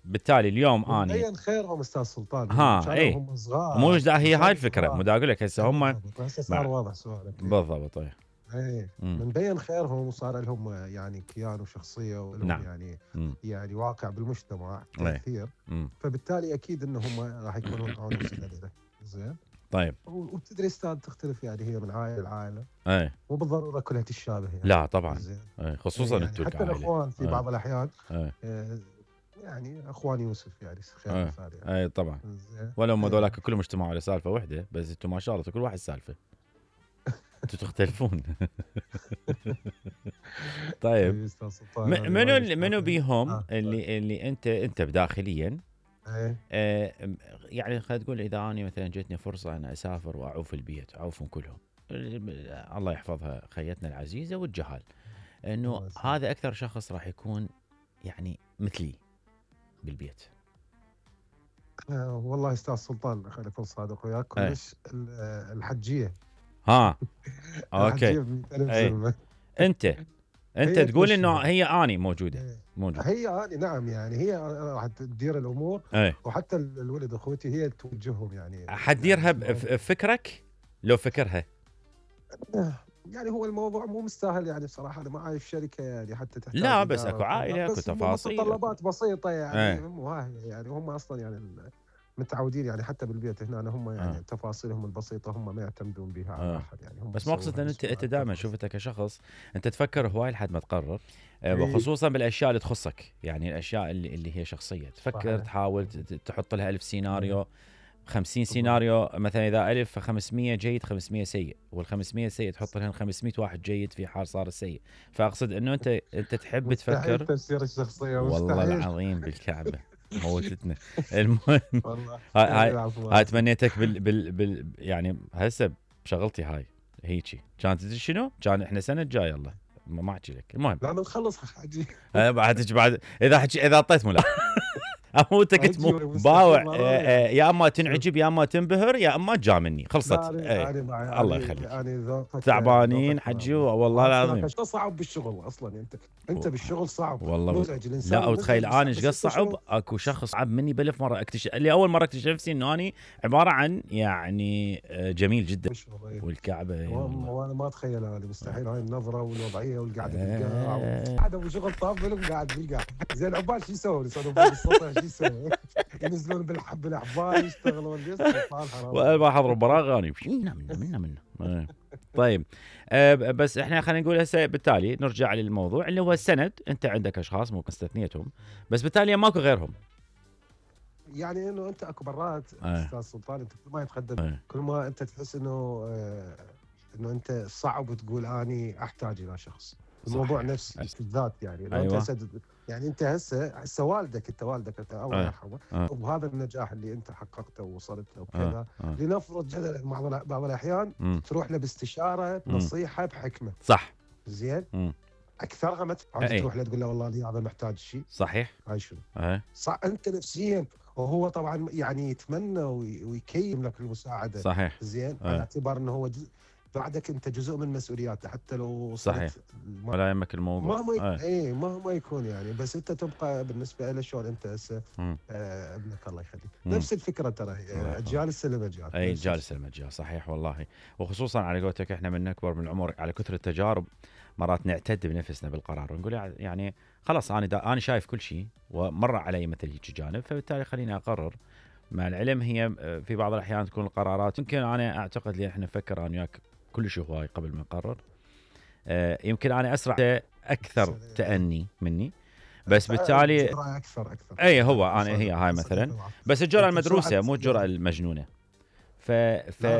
بالتالي اليوم اني مبين خيرهم استاذ سلطان اي هم صغار. مو هي هاي الفكره، مو دا اقول لك هسه هم هسه صار واضح سؤالك. بالضبط. اي من بين خيرهم وصار لهم يعني كيان وشخصيه ولهم نعم. يعني واقع بالمجتمع تاثير. فبالتالي اكيد انهم راح يكونون انوس له. زين. طيب وبتدري استاذ تختلف يعني هي من عائله لعائله. مو بالضروره كلها تشابه يعني. لا طبعا. خصوصا يعني حتى الاخوان في بعض الاحيان يعني اخوان يوسف يعني خير مثال يعني. اي طبعا. ولو هم ذولاك كلهم اجتمعوا على سالفه واحده، بس انتم ما شاء الله كل واحد سالفه. انتم تختلفون. طيب منو بيهم اللي انت بداخليا يعني خلينا تقول اذا اني مثلا جتني فرصه ان اسافر واعوف البيت، اعوفهم كلهم، الله يحفظها خيتنا العزيزه والجهال، انه هذا اكثر شخص راح يكون يعني مثلي بالبيت. والله استاذ سلطان خليني اكون صادق وياك كلش. الحجيه. اوكي. انت تقول انه هي اني موجوده. هي اني نعم، يعني هي راح تدير الامور. وحتى الولد اخوتي هي توجههم يعني. حتديرها بفكرك لو فكرها. يعني هو الموضوع مو مستاهل يعني بصراحه. انا ما اعرف شركه يعني حتى تحتاج. لا بس اكو عائله، اكو تفاصيل، متطلبات بسيطه يعني. يعني هم اصلا يعني متعودين يعني حتى بالبيت هنا هم يعني تفاصيلهم البسيطه هم ما يعتمدون بها على احد يعني. هم بس مقصد ان انت دائما شوفتك كشخص انت تفكر هواي لحد ما تقرر. وخصوصا بالاشياء اللي تخصك، يعني الاشياء اللي هي شخصيه تفكر تحاول تحط لها 1000 سيناريو، 50 سيناريو مثلا. اذا 1000 ف500 جيد 500 سيء، وال500 سيء تحط لهم 500 واحد جيد في حال صار السيء. فاقصد انه انت تحب تفكر. تفسير الشخصيه والله العظيم بالكعبه موتتنا. المهم هاي تمنيتك بال يعني هسه بشغلتي هاي هيجي كانت تدري شنو؟ كان احنا سنه الجايه يلا ما احكي لك. المهم لا نخلص حاجي. بعد اذا اعطيت ملا اموتك تموت باوع. يا اما تنعجب يا اما تنبهر يا اما تجاملني. خلصت. الله يخليك. تعبانين حجي والله العظيم. صعب بالشغل اصلا. انت بالشغل صعب والله. لا وتخيل انا ايش قد صعب. اكو شخص صعب مني بالف مره. اكتشف اللي اول مره اكتشف نفسي انه اني عباره عن يعني جميل جدا. والكعبه وانا ما اتخيل هذه مستحيل. هاي النظره والوضعيه والقعده بالقاع قاعد ابو شغل طابل وقاعد بالقاع. زين عبال شو يسوون؟ يسوون بالسطح شو يسوون؟ ينزلون بالاحبال يشتغلون وما حضروا براغاني منا. طيب بس احنا خلينا نقول هسه بالتالي نرجع للموضوع اللي هو السند. انت عندك اشخاص ممكن استثنيتهم بس بالتالي ماكو غيرهم. يعني انه انت اكو مرات استاذ سلطان انت كل ما يتقدم كل ما انت تحس انه انت صعب تقول اني احتاج الى شخص. الموضوع نفس بالذات يعني. يعني انت هسه والدك الله يرحمه وبهذا النجاح اللي انت حققته ووصلت له وكذا. لنفرض جدلا بعض الاحيان تروح له باستشاره نصيحه بحكمه. صح. زين. اكثرها ما تروح له تقول له والله لي هذا محتاج شيء. صحيح. هاي شنو؟ صح. انت نفسيا وهو طبعا يعني يتمنى ويكيم لك المساعده. صحيح. زين. على اعتبار انه هو بعدك انت جزء من مسؤولياته حتى لو صحيح. ولا يهمك الموضوع مهما يكون يعني. بس انت تبقى بالنسبه له شلون انت هسه ابنك الله يخليك. نفس الفكره ترى اجيال السلم اجيال. اجيال السلم اجيال. صحيح والله. وخصوصا على قولتك احنا من نكبر من العمر على كثر التجارب مرات نعتد بنفسنا بالقرار ونقول يعني خلاص انا شايف كل شيء ومر علي مثل هيك جانب، فبالتالي خليني اقرر. مع العلم هي في بعض الاحيان تكون القرارات يمكن انا اعتقد لي احنا نفكر انا وياك كل شيء هواي قبل ما نقرر. يمكن انا اسرع اكثر تأني مني بس بالتالي اكثر هو انا هي هاي مثلا. بس الجرأة المدروسه مو الجرأة المجنونه.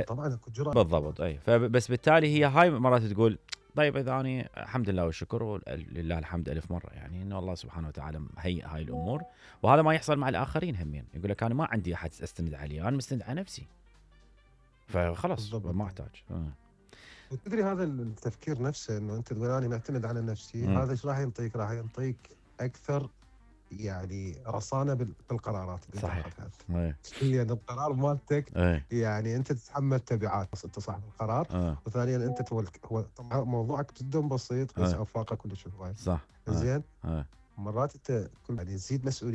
طبعا الجرأة بالضبط. فبس بالتالي هي هاي مرات تقول طيب اذا اني الحمد لله والشكر ولله الحمد الف مره يعني انه الله سبحانه وتعالى هيئ هاي الامور. وهذا ما يحصل مع الاخرين همين. يقول لك انا ما عندي احد استند عليه، انا مستند على نفسي فخلص ما احتاج. تدري هذا التفكير نفسه انه انت تقول انا معتمد على نفسي. هذا ايش راح ينطيك؟ راح ينطيك اكثر يعني رصانه بالقرارات اللي صحيح. لان القرار مالتك يعني انت تتحمل تبعات. انت صاحب القرار. وثانيا انت هو طبعا موضوعك جدا بسيط بس افاقك كلش هواي. صح. زين. مرات انت يعني تزيد مسؤوليه